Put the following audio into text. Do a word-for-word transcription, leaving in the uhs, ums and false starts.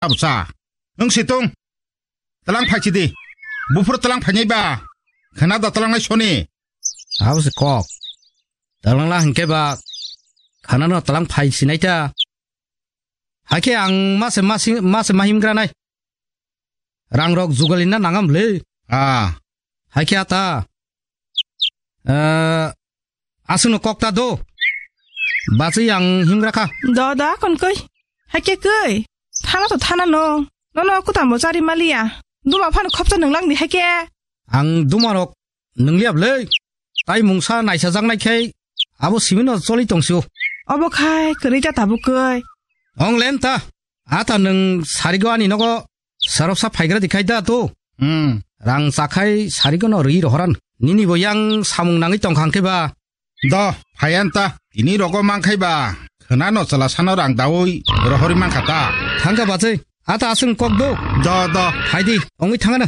Absa. Wng si tong. Talang phai si di. Buphuru talang phainai ba. Khana da talang nai soni. Abo se kok. Talang la hingke ba. Khana no talang phai sinai ta. Haikhe ang mase masi-, mase mahim granai. Rang rok jugalina nangam le. Ah. Haikhe ata. Eh, aswkno kok ta do. Bachwi ang himgra kha. Do da kon koi. Haikhe koi. Thana to thana no. Nono kutam bo chari maliya. Duma phano khopsa nunglang di haikhe. Ang duma rok nungliya bwle. Tai mungsa naisajak nai khai abo simino choli tongsio. Obo khai kwrwi ta tabuk koi. Ong lem ta. Ata nwng sarigo ani nogo saroksa phaigra di khai da to. Hmm. Rang chakhai sarigo no rwi rohoran. Nini bo yang samung nangwi tongkha hwnkhe ba. Do, phaiyan ta. Tini rogo mankhai ba. Khwna no chwla sano rang dawi rohorwi mankha ta. Thangkha bachai. Ata aswng kok do. Do, do. Hai di, ongwi thangana.